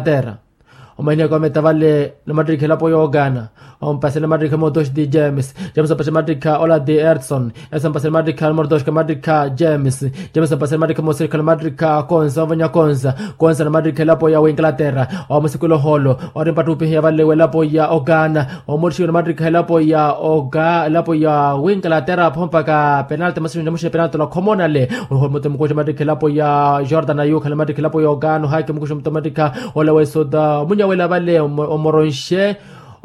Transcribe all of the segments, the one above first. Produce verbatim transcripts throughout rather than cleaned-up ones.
Inglaterra. Omahinaka ometa vale namattikha elapo yoogana. Ompasela mattikha motoshi ti james, james ompasela mattikha ola ti edson, edson ompasela mattikha numero dos ka mattikha james, james ompasela mattikha mosirikha namattikha konsa ovanya konsa, konsa namattikha elapo ya winglaterra. Omusikula oholo ori mpattupihiya vale welapo ya ogana. Omorixiwa namattikha elapo ya oga elapo ya winglaterra apho mpaka penalti masimu namuxiya penalti olakhomona le. Oho muto mukuxa mattikha elapo ya jordan ayukhala mattikha elapo ya ogana ohaki mukuxa muto mattikha ole wesuta omunyawela vale omoronxe.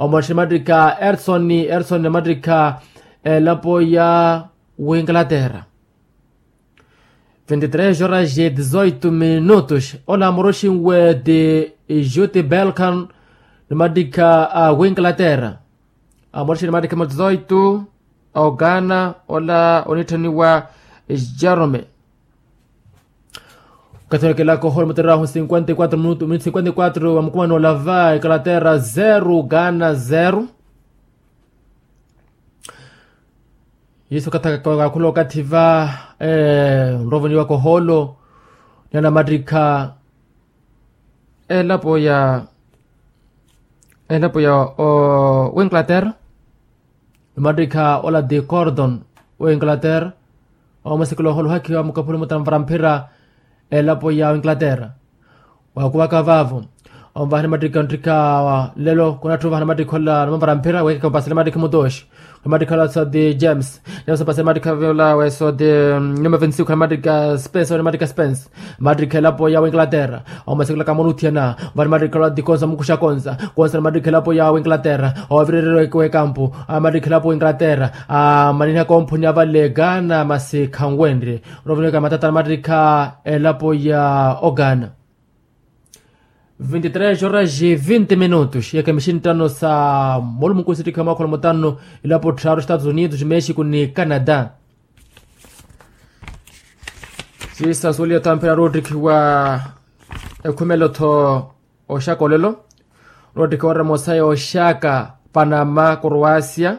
Omoronxe mattikha erson erson mattikha elapo ya winglaterra. Vinte três horas e dezoito minutos ola amoroxinwe ti juti belkan. Ni mattikha a winglaterra amoroxinwe ni mattikha ma dezoito. A ogana ola onitthaniwa jerome. Okathi onekelaka oholo mutererahu cinquenta e quatro minuto minuto cinquenta e quatro wa mukumani olava inglaterra zero ghana zero. Yesu okathi akakhula okathi va nrovoniwaka oholo ni anamattikha elapo ya elapo ya winglaterra. Namattikha ola ti cordon winglaterra. Omasikula oholo ohakhiwa mukaphuli mutamvara mphira elapo ya winglaterra. Waakuwaka vaavo onvaha namattikha nttikha nlelo khunatthi onvaha namattikha ola namamvara mphira weekeke ompasele mattikha mutoxi. Khula mattikha ola soti james, james ompasele mattikha ola weso ti nyuma vinci khula mattikha spence ola mattikha spence. Mattikha elapo ya winglaterra. Omasikula kamonuthiyana vani mattikha ola ti konsa mukuxa konsa, konsa namattikha elapo ya winglaterra. Ovirerereke wekampu amattikha elapo winglaterra. Amanihaka omphuni avale ghana masi khanwenrye. Orovineka matata namattikha elapo ya oghana. Vinte três horas e vinte minutos iyaka mixinttano sa molumu nkunsittikhiwa mwakholo mutano. Ilapo tthaaru estados unidos mexico ni canada. Siisa suweliya othamphera roottikhiwa ekhumelo-tho oxaka olelo. Roottikhiwa oremo saya oxaka panama croacia.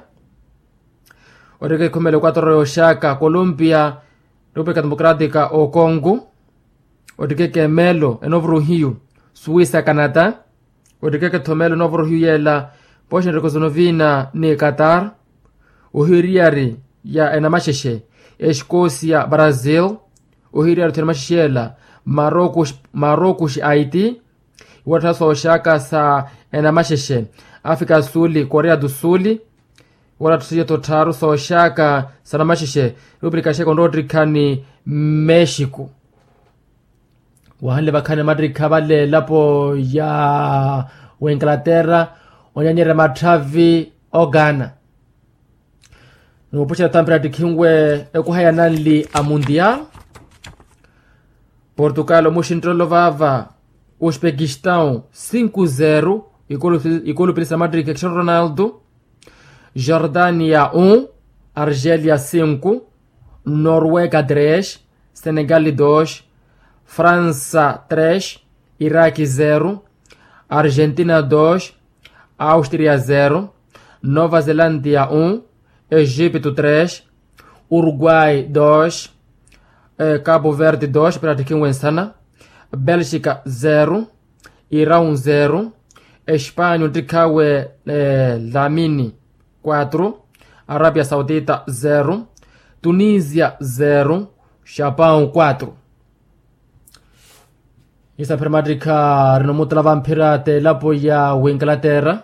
Ottikhiwa ekhumelo equatoro yoxaka colombia, república democrática o congo. Ottikeke emelo enovo ruhiyu suwisa canada. Ottikeke-tho melo enovo ruhiyu yela poxa nrikosonovina ni qatar. Ohiyu eriyari ya enamaxexe escocia brazil. Ohiyu eriyari-tho enamaxexe yela marocos haiti. Iwatthasa oxaka sa enamaxexe africa suli korea do suli. Wala ttusiya totthaaru sooxaka sa namaxexe república xeka onroottikha ni mexico. Wahanle vakhaani mattikha vale elapo ya winglaterra onyanyerya matthavi oghana. Niwupuxela thamphira ttikhinwe ekuha ya nanli a mundial. Portugal omuxinttelelo vaava uzbekistão cinco zero. Ikulu pilisa mattikha cristiano ronaldo. Jordania um, Argélia cinco, Noruega três, Senegal dois, França três, Iraque zero, Argentina dois, Áustria zero, Nova Zelândia um, Egito três, Uruguai dois, Cabo Verde dois, pratiki wensana, Bélgica zero, Irão zero, Espanha ontikhawe Lamini quatro, Arabia Saudita zero, Tunisia zero, Japão quatro. Isaphira mattikha rinomutula vamphira t'elapo ya winglaterra.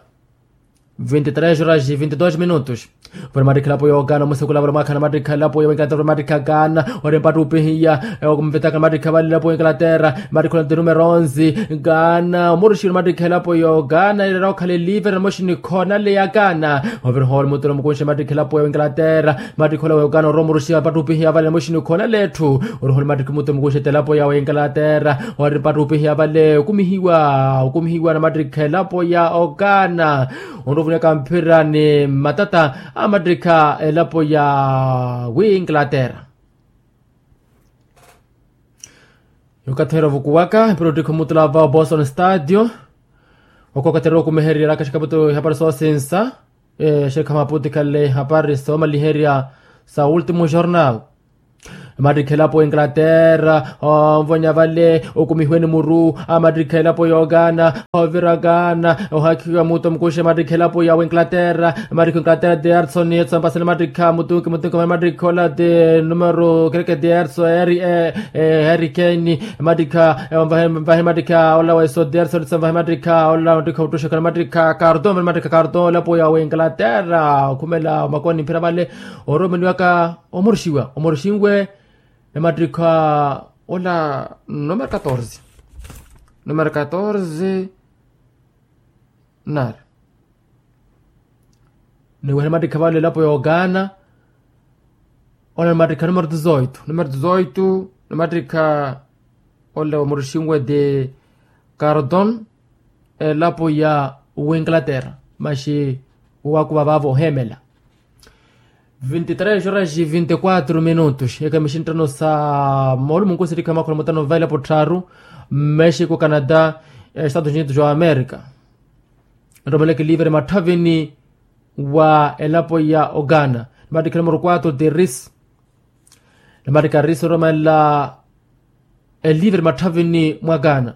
Vinte três horas e vinte dois minutos. Vale mattikha elapo ya ogana omusekula vale omwakha na mattikha elapo ya winglaterra vale mattikha gana. Ori mpattu upihiya okumvetaka na mattikha vale elapo ya winglaterra. Mattikha ola nti numero onze. Gana omuruxi na mattikha elapo ya ogana ireera okhala elive na moxini khonale ya gana. Ovira ohole mutuna mukunxe mattikha elapo ya winglaterra. Mattikha ola wa ogana ori omuruxi mpattu upihiya vale na moxini khonale etthu. Ori ohole mattikha mutuna mukunxe t'elapo ya winglaterra. Ori mpattu upihiya vale okumihiwa okumihiwa na mattikha elapo ya ogana. Onrovunyaka mphira ni matata a mattikha elapo ya winglaterra. Okathi ohirovukuwaka mpira ottikha omutula va oboston stadio. Oko okathi orokumeherya raka xikaputo ihapari soosinsa. Exekha maputikale ihapari soomaliherya sa ultimo jornal. Emattikha elapo ya inglaterra onvonya vale, okumihiweni muru. Amattikha elapo ya okana, ovira okana ohakhiwa muto mukuxa emattikha elapo ya inglaterra. Emattikha inglaterra ti erson etso ampasela emattikha mutuki mutuki emattikha ola ti numero kereke ti erso eri e, e, erikeni. Emattikha evahe emattikha ola weso ti erson etso evahe emattikha ola mattikha otuxakana emattikha karton emattikha karton elapo ya inglaterra okhumela omakoni mphira vale. Oromeliwaka omorixiwa omorixiwe. Ni mattikha ola numero katorze numero katorze. Nari niwehela mattikha vale elapo ya okana. Ola ni mattikha numero dezoito numero dezoito. Ni mattikha ola omorixiwe ti karton elapo ya winglaterra. Maxi wakuva vavo ohemela. Vinti tres horas vinti quatro minutos eka mixinttano sa moolumunku sirikha makhola mutano vailapo tthaaru. Mexico canada, estados unidos wa america. Nromeleke livre matthavini wa elapo ya okana. Nimattikha numero quatro ti ris. Nimattikha ris oromela elivre matthavini mwa okana.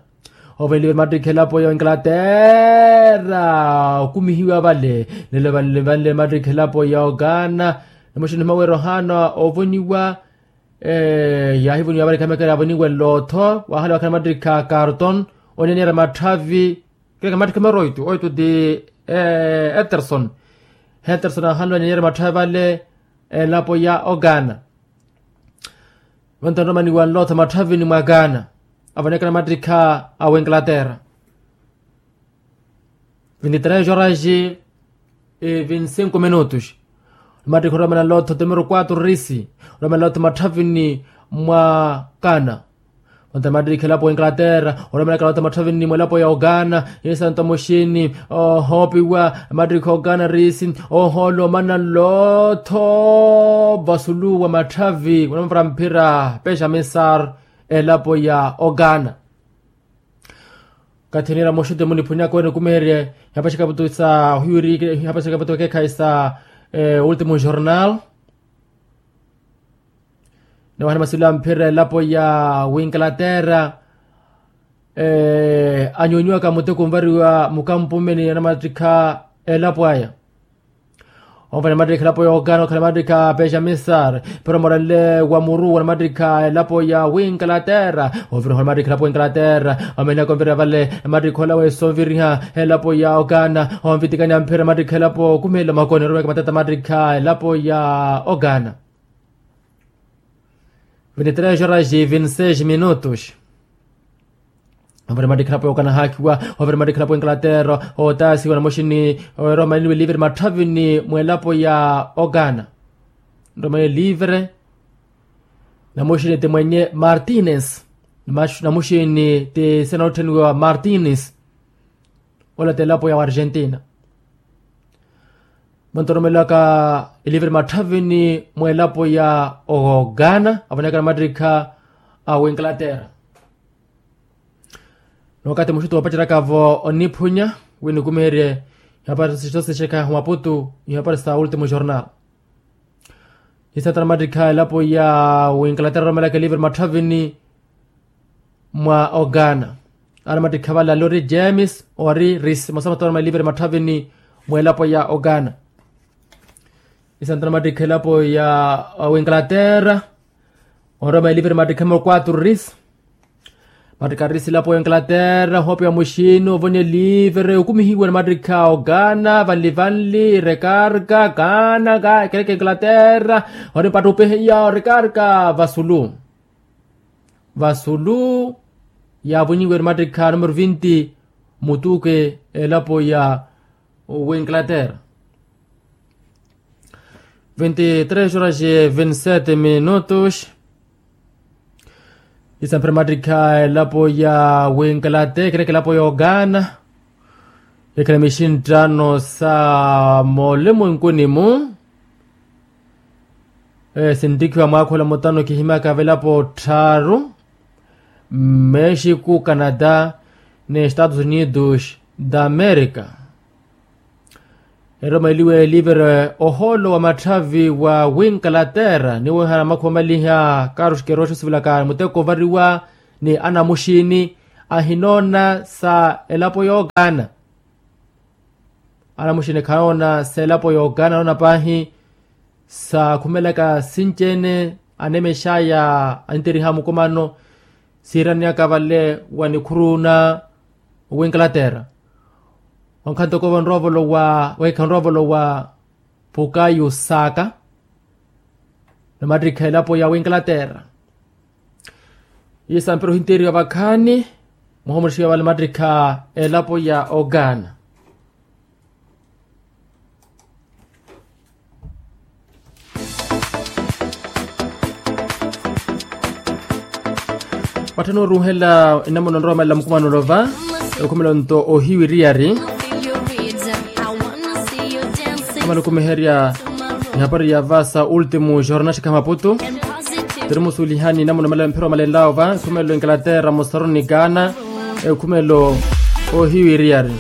Ovela elivre mattikha elapo ya inglaterra okumihiwa vale. Nelo vanle mattikha elapo ya okana. Namuxini nimaweera ohaana ovoniwa. Yaahivoniwa vale khamekela avoniwe lotho wahala wakhana mattikha karton. Onyaniyerya matthavi. Keke mattikha meroito oito ti etherson. Etherson ahanle onyaniyerya matthavi vale elapo ya okana. Vanto anromaniwa nlotha matthavini mwa okana. Avonekana mattikha a winglaterra. Vinti tres horas e vinti cinco minutos. Mattikha oromana nlotha ti numero quatro risi. Oromana nlotha matthavini mwa okana. Vanto mattikha elapo wa inglaterra oromelaka nlotha matthavini mwa elapo ya okana. Isanto muxini ohoopiwa mattikha okana risi. Ohoolo omana nlotho vasulu wa matthavi wanampara mphira pexa misar elapo ya okana. Kathi niira muxuti muniphunyaka wenikumeherye. Ihapaxaka vutu sa ohiwiri ihapaxaka vutu ekeekhayi sa ultimo jornal. Nawahana masilu amphira elapo ya winglaterra anyonyiwaka muteko onvariwa mukampumeni anamattikha elapo aya. Onvana mattikha elapo ya okana okhala mattikha pexa misar. Pero moranle wa muru wa namattikha elapo ya winglaterra. Oviriha namattikha elapo ya inglaterra. Omenaka onvira vale namattikha ola wesonviriha elapo ya okana. Onvitikani amphira namattikha elapo okumelela makoni oromeka matata mattikha elapo ya okana. Vinti tres horas e vinti seis minutos. Ovira mattikha elapo ya okana haakiwa. Ovira mattikha elapo ya inglaterra otaasiwa namuxini. Eroma eniwe livre matthavini mwa elapo ya okana. Nroma eniwe livre. Namuxini ti mwenye martines. Namuxini ti sena otthaniwa martines. Ola ti elapo ya argentina. Vanto oromelaka elivre matthavini mwa elapo ya okana avonekana mattikha a winglaterra. Ni wakati muxuti woopaceryaka-vo oniphunya wi nikumeherye. Ihapari sixo sixekha humaputu ihapari sa ultimo jornal. Isatana mattikha elapo ya winglaterra oromelaka elivre matthavini mwa okana. Ana mattikha vale alori james ori ris mosa matthavini mwa elapo ya okana. Isantana mattikha elapo ya winglaterra onroma elivre mattikha mwa quatro ris. Mattikha ris elapo ya winglaterra ohoopiwa muxini ovonya elivre okumihiwa namattikha okana vanli vanli rekarka kana kereke inglaterra. Ori mpattupihiya orekarka vasulu. Vasulu yaavonyiwe namattikha numero vinti mutuke elapo ya winglaterra. Vinti tres horas e vinti sete minutos. Isamphira mattikha elapo ya winglaterra kereke elapo ya okana. Ekhala mixinttano sa moolimo enkuni-mu. Sinttikhiwa mwaakhola mutano kihimyaka velapo tthaaru. Mexico canada ni estados unidos da america. Eroma eliwe elivere ohoolo wa matthavi wa winkalaterra niwihana makhuva maliha karuxikero otthu sivilaka muteko ovariwa ni anamuxini ahinoona sa elapo yookaana. Anamuxini khanoona sa elapo yookaana anoona paahi sa khumelaka sinci-ene anemexaya anteriha mukumano. Siirani aka vale wa nikhuruna winkalaterra. Wankhanto kova nroovolo wa wekha nroovolo wa pukayu saaka na mattikha elapo ya winkalaterra. Iye sampira ohinteriwa vakhaani muhomuxiwa vale mattikha elapo ya ogaana. Watthana oruuhela enamuna onrowamelela mukumano olova ekhumelo nto ohiwiriyari. Amala okumiherya nihapari ya vaasa ultimu jornal xikha maputu. Tirimusuulihani enamuna mphira omalenlavo va ekhumelo enkalaterra mosaroni kaana ekhumelo ohiwiriyari.